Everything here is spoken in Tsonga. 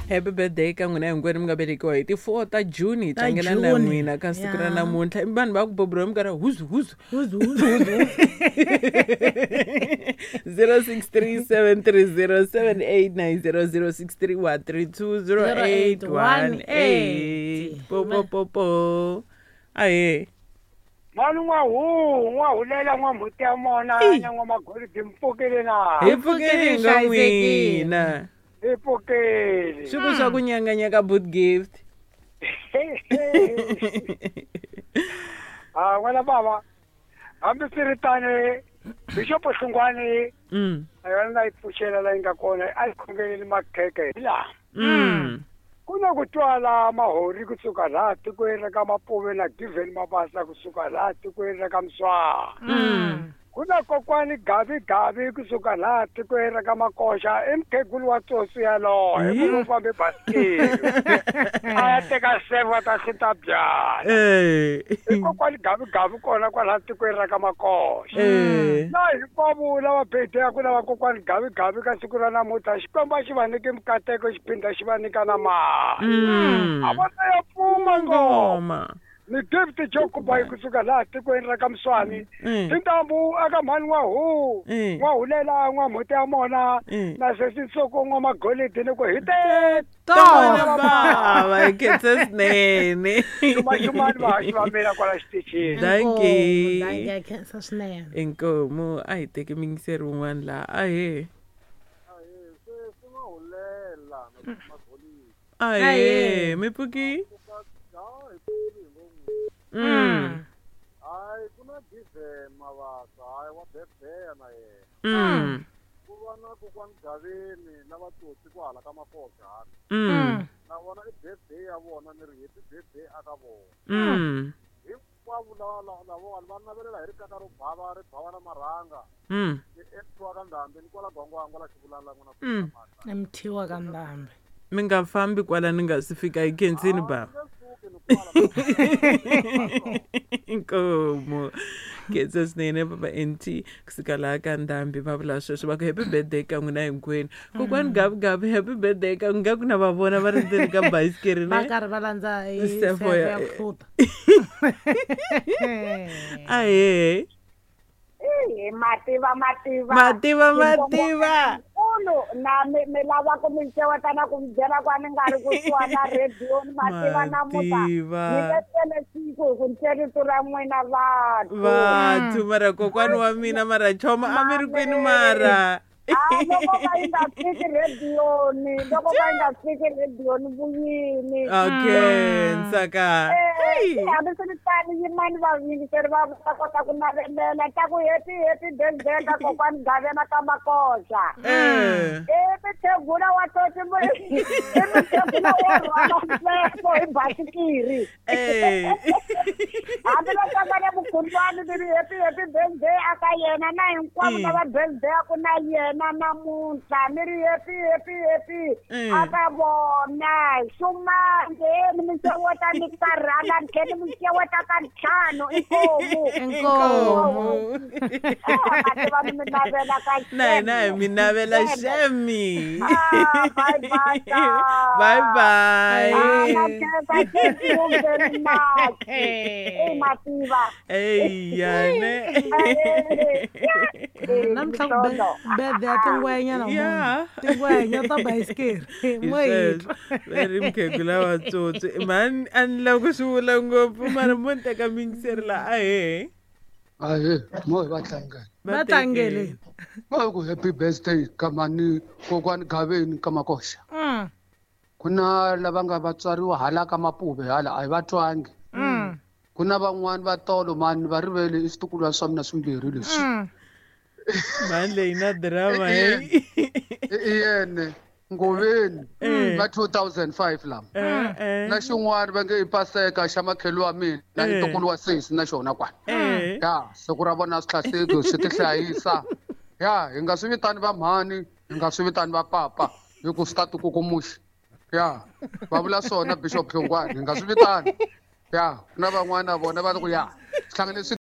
Happy birthday ka n'wina hinkwenu mi nga velekiwa hi ti 4 ta June hi Ta tlangela na June. n'wina ka siku ra Ya. namuntlha. I vanhu va ku bobro mi karhi huzu huzu. Huzu, huzu, huzu. 0637307890 0631320818. Po po po po. Ahe. Mani n'wahu n'wahulela n'wamhuti ya mona Ey. na n'wamagolidi mpfukile na Hi pfukeni nga Hlayisekile. n'wina. hi pfukile Swi ku swa ku nyanganya ka boot gift. Ah, n'wana bava hambi swi ri tani bixopo Hlungwani a yona na yi pfuxela la yi nga kona a yi khongeleli makheke hi laha ku na ku twala mahori kusuka laha tikweni ra ka Mapuve na Given Mabasa kusuka laha tikweni ra ka Mswara ku na kokwani Gavi Gavi kusuka laha tikweni ra ka Makoxa i mukhegulu wa tsotsi yaloye Hi. munhu u fambe basikiri a ya teka seva ta hluta byala i kokwani Gavi Gavi kona kwalaha tikweni ra ka Makoxa na hinkwavo lava bedeyaku lava kokwani Gavi Gavi ka siku ra namuntlha Xikwembu a xi va nyiki mikateko xi phinda xi va nyika na mali a va ta ya pfuma ngoma Ngoma. ni gift jokubayi kusuka laha tikweni ra ka Mswani tintambu aka mhani n'wahu n'wahulela n'wamhuti ya mona na sesi Ntsoko n'wamagolidi ni ku hi te Tona bava hi khensa swinene. Xumani vahaxi va mina kwala xitichini. Dankie. Dankie, a khensa swinene. Inkomu a hi teki muyingiseri wun'wana laha ahe. Ahe, mi pfuki? Hayi ku na Given Mabasa hayi wa bebeya na yena ku va na kokwani Gaveni na vatsotsi kwahala ka Makoxa hala na vona i birthday ya vona ni ri happy birthday aka vona hinkwavo lava lavawani va navelela hi rikaka ro bava ri bava na marhanga ni emthiwa ka Ndhambi ni kwala Gwangwangwa la xivulana la n'wina Emthiwa ka Ndhambi. Mi nga fambi kwala ni nga si fika hi khensini bava. Inkomu. Khensa swinene baba NT kusuka laha ka Ndhambi va vula sweswo va ku happy birthday ka n'wina hinkwenu. Kokwani Gavi Gavi happy birthday ka nga ku na va vona va ri ndzeni ka bayisikiri Va ne. karhi va landza hi Sefo sefo ya- ya ku hluta. Ahe. Eyi, mativa mativa Mativa mativa. Nkulu na mi mi lava ku mi xeweta na ku mi byela ku a ni nga ri kusuhani na rediyo ni mativa namuntlha Mativa. ni letele siku hi ku ni rito ra n'wina vanhu Vathu mara kokwani wa mina mara choma a mi ri kwini mara. Ah, loko ka yi nga fiki rediyoni loko ka yi nga fiki rediyoni vuyini Okay, Nsaka. Eh, hambiswiritano yimani vayingiseri va va kota ku navelela ta ku happy happy birthday ka kokwani Gavena ka Makoxa i mukhegula wa tsotsi i mukhegula wo rhwala mfefo hi basikiri hambiloko a nga na vukhundlwani ni ri happy happy birthday aka yena na hinkwavo lava birthday-aku na yena namuntlha ni ri happy happy happy aka vona xumange ni mi xeweta ni karhala ni tlhe ni mi xeweta ka ntlhanu inkomu Inkomu. mativa ni mi navela ka Na hina hi mi navela xemi. Ah, bye bye. Bye bye. Ah, na khensa thank you very much. Eh, mativa. Eya ne. Namuntlha ku birthday ya tingwenya namuntlha. Yeah. Tingwenya ta bayisikiri. Hi Mo hi sweswo. Va ri mukhegula wa tsotsi mhani a ni lava ku swi vula ngopfu mara mo ni teka muyingiseri laha ahe. Ahee, mo hi va tlangela. Va tlangele. Mo hi ku happy birthday ka mani kokwani Gaveni ka Makoxa. Ku na lava nga va tswariwa hala ka Mapuve hala a hi va twangi. Ku na van'wani va tolo mani va rivele i switukulwana swa mina swimbirhi leswi. Mhani leyi na drama hey. I yene Ngoveni va 2005 lama. Na xin'wana va nge i Paseka xa makhelo wa mina i ntukulu wa sesi na xona kwala. Ya siku ra vona swi hlaseki swi ti hlayisa. Ya hi nga swi vitani va mhani hi nga swi vitani va papa hi ku swi ta tikukumuxa. Ya va vula swona Bishop Hlongwane hi nga swi vitani. Ya ku na van'wana vona va ku ya swi hlangane swi